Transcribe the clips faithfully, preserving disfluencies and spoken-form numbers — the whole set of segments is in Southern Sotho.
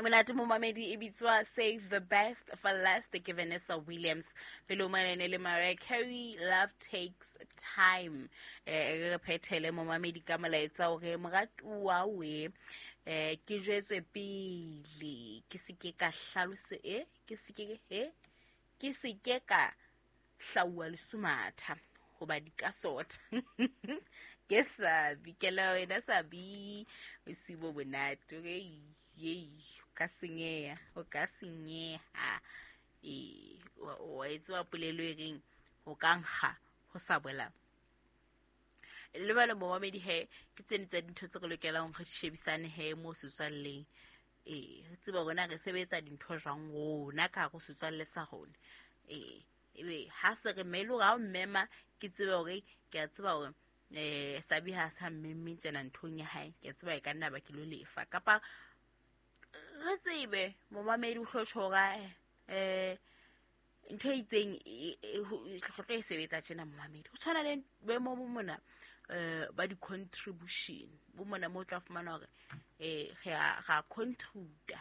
Monate momamedi e bitswa Save the Best for Last ke Vanessa Williams. Pele o manene le Mariah Carey, Love Takes Time. Eh re phethele momamedi ka molaetsa hore moratuwa we eh ke jwetswe pele ke se ke ka hlalose e ke se ke e ke se ke ka hlauwa lesumatha hoba di ka sotha. Ke sabi ke la wena sabi o sibo bonate okay ye ka senyeha o ka senyeha e o etsa polelo e reng ho ka nkga ho sa bola le bana momamedi he ke tsene tsa dintho tse re lokelang re shebisane he mo setswalleng e re tseba rona re sebetsa dintho jwang rona ka go setswalle sa rona e ebe ha se re melo ga o mmema ke tsebe hore ke a tseba hore eh sabi ha sa mmemme tjena nthong ya hae ke tseba e ka nna ba ke lo lefa kapa re tsebe momamedi o hlotjhora eh ntho e itseng e tlo e sebetsa tjena momamedi o tshwana le boemo bo mona eh ba di contribution bo mona mo tla fumana hore eh re ra contributa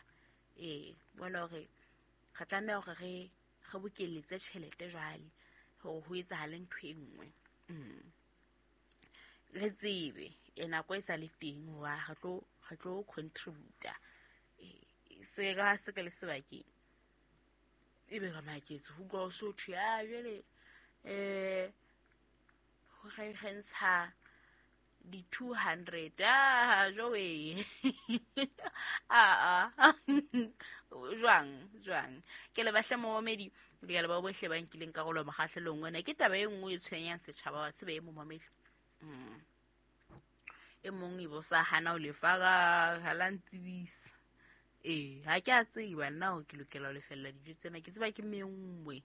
eh bona hore re tlameha hore re re bokeletse tjhelete jwale hore ho etsahale ntho e nngwe re tsebe e nako e sa le teng wa re tlo re tlo contributa se ga se ke le sebakeng e be ga maketse ho utlwa o so thwe a jwale eh ho re re ntsha di two hundred ah jowe ah ah jwang jwang ke le bahle momamedi ke le ba bohle ba nkileng karolo mokgahlelong ona ke taba e nngwe e tshwenyang setjhaba wa tsebe e momamedi mm e mong e bo sa hana o lefa ga ha la ntsibisa eh ha ke a tseba nna o ke lokela ho lefella dijo tsena ke tseba ke mengwe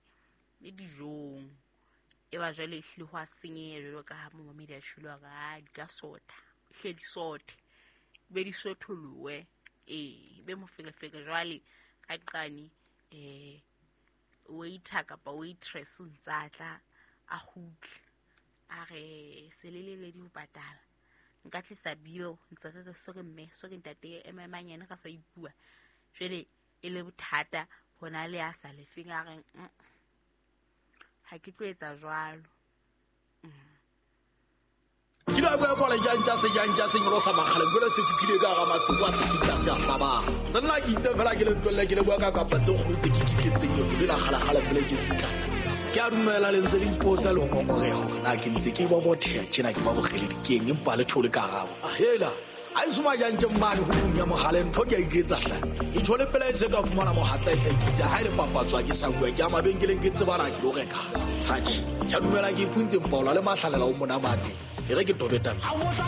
e dijong e ba jwale ehlile ho a senyeha jwalo ka ha momamedi a tjholo hore di ka sotha hle di sothe be di sotholowe eh be moferefere jwale ka qane eh waiter kapa waitress o ntsa tla a kgutle a re selelele di ho patala nka tlisa bill ntse re re sore mme sore ntate ememanyane ka sa ipua jwale e le bothata hona le a sa lefeng a reng ha ke tlo etsa jwalo. Ke la bua kwa le jantja se jantja se nyolo sa makgale jwale se fitlile ka ga masimo a se fitla se a hlabang se nna ke itse fela ke le ntwelle ke le bua ka kapa tse kgolo tse ke kitletseng yo le la kgala kgala pele ke fitla ke a dumela le ntse le ipotsa le ngongoreha hore na ke ntse ke ba botheha tjena ke ba bogele dikeng empa le thole karabo hela a isuma jantje mmane ho ya mohale ntho ke a iketsa hla e thole pela e se ka fumana mohatla e sa ikisa ha ile papatswa ke sa bua ke a mabenkeleng ke tsebana ke lo reka hatjhe ke a dumela ke ipuntse mpaola le mahlalela o monamane e re ke tobeta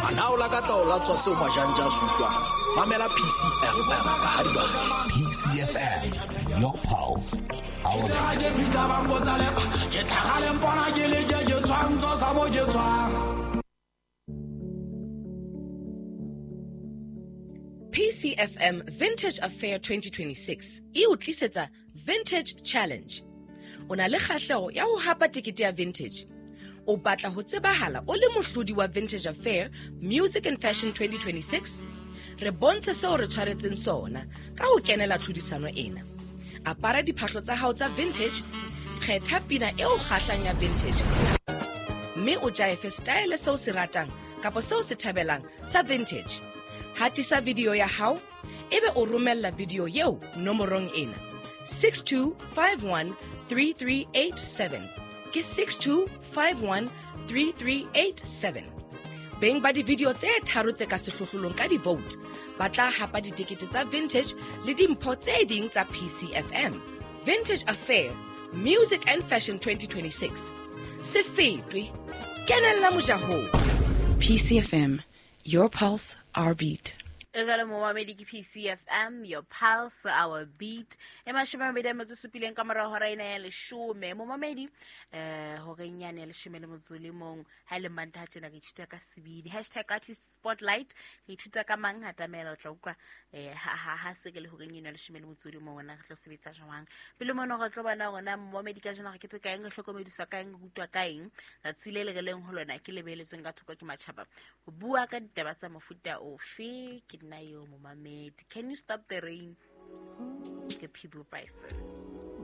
ana o lakatsa o latswa seo majanja a sutlwang mamela P C F M ha di ba P C F M, your pulse, our ke fitla ba mpotsa le ke tlhagale mpona ke le je ke tshwantso sa mo ke tshwang. P C F M Vintage Affair twenty twenty-six e o tlisetsa Vintage Challenge. O na le kgahleho ya ho hapa tekete ya vintage. O batla ho tsebahala o le mohlodi wa Vintage Affair Music and Fashion twenty twenty-six? Re bontshe seo re tshwaretseng sona ka ho kenela tlhodisano ena. Apara diphahlo tsa hao tsa vintage, kgetha pina eo kgahlang ya vintage, mme o jaefe style seo se ratang kapa seo se thabelang sa vintage. Hatisa video ya hao ebe o romella video eo nomorong ena six two five one three three eight seven. Ke six two five one three three eight seven. Beng ba di-video tse tharo tse ka sehlohlolong ka di-vote ba tla hapa ditekete tsa vintage le dimpho tse ding tsa P C F M. Vintage Affair Music and Fashion twenty twenty-six. Se fetwe, kenella mojahong. P C F M, your pulse, our beat. Jwale momamedi ke P C F M, your pulse, our beat. E mashome a mabedi a metso supileng ka morao hora ena ya leshome. Momamedi eh horeng yane ya leshome le motso le mong ha le Mantaha tjena re ithuta ka sebidi. Hashtag artist spotlight re ithuta ka mang hatamela o tla utlwa eh ha ha ha se ke le horeng ena ya leshome le motso le mong ona re tlo sebetsa jwang. Pele mona re tlo bona rona momamedi ka jena re kete ka eng re hlokomediswa ka eng re rutwa ka eng. Tsatsi le le re leng ho lona ke lebeletsweng ka thoko ke matjhaba. Ho bua ka ditaba tsa mofuta ofe ke nna yo momamedi. Can you stop the rain? Ke Peabo Bryson.